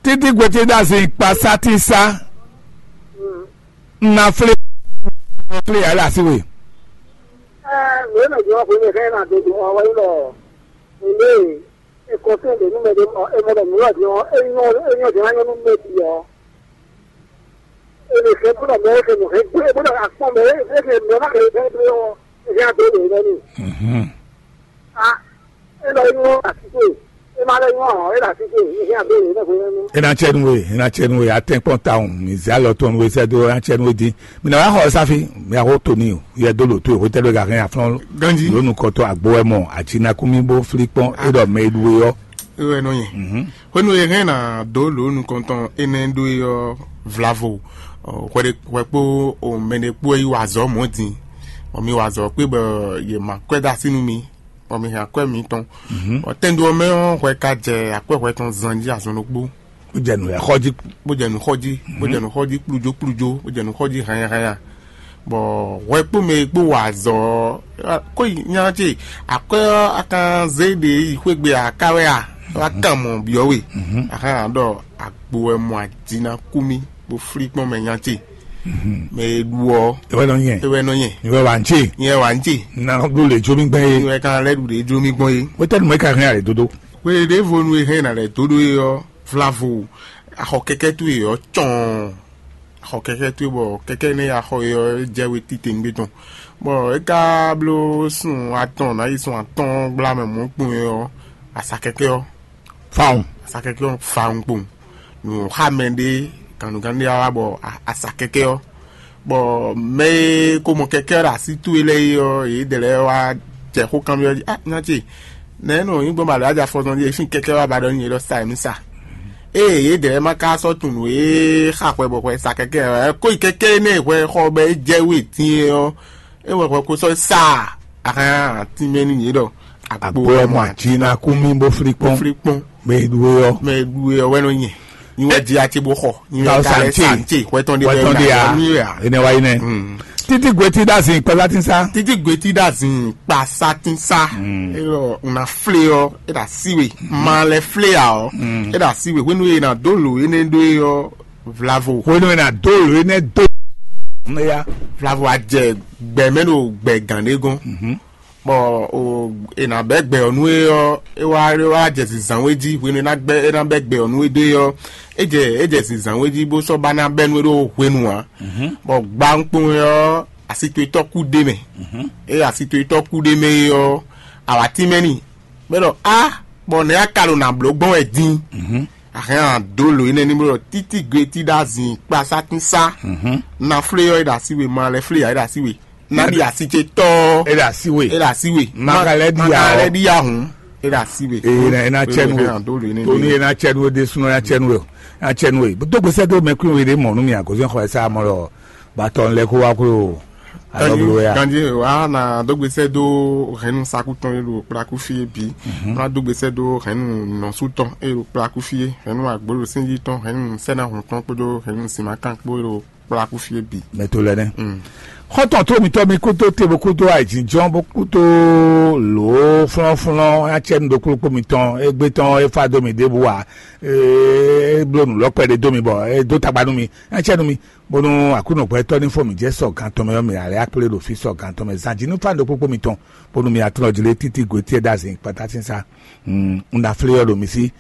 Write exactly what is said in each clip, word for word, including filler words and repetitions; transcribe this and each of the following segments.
Títí gbèsè dá zin kpa sátí sá. Nna flé flé yà lé así we. Lǒ nɔ jɛ ɔ́ hwenu e hɛn ná dó dó ɔ́ wɛ nyí ɖɔ mǐ lé e kɔnsɛ́n ɖě nú mɛ ɖé mɔ é mɔ ɖɔ nǔ lɔ din ɔ́, é nyɔ́ é nyɔ́ din ná nyɔ́ nú mɛ bǐ ɔ́. É lè hɛn bó ɖɔ mɛ é hɛn nǔ hɛn gbé bó ɖɔ akpɔ́n mɛ é hɛn mɛ má hɛn hɛn gbé ɔ́, é hɛn adó lě nɛ́ n'i. A é lɔ nyɔ́ asíkè é má lɛ nyɔ́ ɔ́, é ɖo asíkè é hɛn adó lě nɛ́ hwenu. E na cɛ nu we, e na cɛ nu we, atɛnkpɔn tawun, mi zɛ alɔ tɔn nu we sɛ do, e na cɛ nu we din. Mi na wa xɔ safi, mi axɔ to ni o, yɛ do lo to e, hwetɛ do ga hɛn aflɔn. Ganji. Lónù kɔtɔ agbo wɛ mɔ, àti nakúmí bó flí kpɔn, é ɖɔ mɛ e ɖu we ɔ́. É wɛ nɔ nyɛ. Hwenu e hɛn na dó lǒ nukɔntɔn énɛ́ ɖó é ɔ́, vlavo hwɛ ɖé hwɛ kpó mɛ ɖé kpó yi wa azɔ̌ mɔ̌ din, bɔ mi wa azɔ̌ kpé bɔ yě ma kwɛ́ dó así nú mi, bɔ mi hɛn akwɛ́ mitɔn. Bɔ tɛndo ɔ́ mɛ ɔ́, hwɛ ka jɛ akwɛ́ hwɛ tɔn zan jí azɔn ɖokpó. Bó jɛ nǔ lɛ́ɛ xɔ jí. Bó jɛ nǔ xɔ jí, bó jɛ nǔ xɔ jí kplújó kplújó, bó jɛ nǔ xɔ jí hanya hanya. Bɔ hwɛ kpó mɛ e kpó wa azɔ̌ ɔ́, kó yi nya ce akwɛ́ ɔ́, a kan zé ɖě yi xwé gbe aká wɛ a? Wá kan mɔ byɔ́ we. Ahan ɖɔ agbo wɛ mɔ aji ná kú mì bó flí kpɔ́n mɛ nya ce. Mɛ e ɖu ɔ́, é wɛ nɔ nyɛ. É wɛ nɔ nyɛ. Nyɛ wɛ wá ń ce. Nyɛ wá ń ce. Na ɖu lě jó mì gbɛn yé. Nyɛ wɛ kan lɛ́ ɖu ɖě jó mì gbɔn yé. Wétɛ́nu mɛ ka hɛn alě dódó. Hwe ɖěvo nu e hɛn ná lɛ́ dó ɖó é ɔ́, vlavo axɔ kɛkɛ towe ɔ́ cɔn. Axɔ kɛkɛ towe bɔ kɛkɛ nɛ axɔ e ɔ́ jɛ we titewungbe tɔn. Bɔ é ka bló sun atɔn ná yi sun atɔn gbla mɛ mɔ̌ kpɔn é ɔ́, asa kɛkɛ ɔ́. Fawun. Asa kɛkɛ ɔ́ fawun kpɔn. Nǔ xa mɛ ɖé gannugannú ɖé wá bɔ asa kɛkɛ ɔ́, bɔ mɛ e ko mɔ kɛkɛ ɔ́ ɖo así towe lɛ́ɛ é ɔ́, yě dɛ lɛ́ɛ wá jɛ xó kanbyɔ́ jí, ah nya ce, nɛ̌ nɔ nyí gbɔn ba lɛ̌ wá jɛ afɔzɔn jí e fín kɛkɛ wá ba ɖɔ nú nyɛ ɖɔ sa nǔ sa. Ée yě dɛ lɛ́ɛ ma ka sɔ́ tunwun nǔ e xa hwɛ bɔ hwɛ sa kɛkɛ ɔ́, kó yi kɛkɛ énɛ́ hwɛ xɔ bɔ é jɛ wú e din é ɔ́, é wɛ hwɛ ko sɔ́ sa ahán atín mɛ nú yě ɖɔ agbo wɛ mɔ ati ná kú mì bó flí kpɔ́n. Flí kpɔ́n. Mɛ e ɖu we ɔ́. Mɛ e ɖu we ɔ́ wɛ nɔ nyɛ. Nyi wɛ di ati bó xɔ. Nyi wɛ ka lɛ sa nce hwɛ tɔn de bɛ na mi wɛ a. Enɛ wa yi nɛ. Títí gwetí ɖa zin kpɛlá tí sá. Títí gwetí ɖa zin kpa sa tí sá. Elɔ una flé ɔ e ɖa sí we. Ma lɛ flé a ɔ. E ɖa sí we hwenu e na dó lo ene ɖó e ɔ vlavo. Hwenu e na dó lo ene dó. Ne ya. Vlavo a jɛ gbɛ mɛ ɖo gbɛ gán ɖé gɔn. Bɔ o e na bɛ gbɛ ɔ nú e ɔ e wá e wá jɛ zinzan we jí hwenu e na gbɛ e na bɛ gbɛ ɔ nú e ɖe ɔ e jɛ e jɛ zinzan we jí bó sɔ́ ba ná bɛ nú e ɖo hwenu ǎ. Bɔ gba ŋkpɔn e ɔ asitɔtɔ kú ɖe mɛ. E asitɔtɔ kú ɖe mɛ e ɔ awatí mɛ ni bɛ ɖɔ a bɔ nɛ a ka ɖo na bló gbɔn wɛ din. Ahɛn a dó lo énɛ́ ní bó ɖɔ títí gwetí ɖo azin kpasá tín sá. Na flé ɔ é ɖo así we ma lɛ flé ɔ é ɖo así we. Nani asi ce tɔ. E ɖe asi we. E ɖe asi we. Magalɛ di ya o. Magalɛ di ya hun. E ɖe asi we. Ee na ena cɛnu we. Toni ena cɛnu we de sunɔ ya cɛnu we. Ya cɛnu we. Dogbe sɛ do mɛ kun we de mɔ nu mi agozi xɔ ɛsɛ amɔ lɔ. Batɔ lɛ ko wa ko. Alɔblo ya. Gandhi wa na dogbe sɛ do hɛnu sakutɔn ye do kplaku fi ye bi. Na dogbe sɛ do hɛnu nɔsutɔn ye do kplaku fi ye. Hɛnu agbolo sinji tɔn hɛnu sɛna hun tɔn kpodo hɛnu simakan kpo ye do kplaku fí é bǐ. Mɛ to lɛ nɛ. Xɔtɔn tó mitɔ mi kútó te bó kútó àìjínjɔ́n bó kútó lǒ flɔ́nflɔ́n acɛ́nu ɖokpló kpó mitɔn égbé tɔn é fá dó mi ɖěbǔ ǎ. É bló nǔ lɔ́kpɛ ɖé dó mi bɔ é dó tagba nú mi acɛ́nu mi bónú Aklúnɔgbɛ́tɔ́ ní fɔ mǐ jɛ sɔ gan tɔn mɛ ɔ́ mi alɛ akplé ɖo fí sɔ gan tɔn mɛ zan jí nú fá ɖokpló kpó mitɔn bónú mi atlɔ́ jlé títí gǒ tiɛ ɖó azin kpatá sín sá. Un ɖo aflé ɔ́ ɖo mi sí.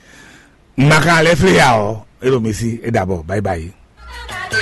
Un ma ka lɛ́ flé ya ɔ́, é ɖo mi sí, é ɖabɔ, báyibáyi.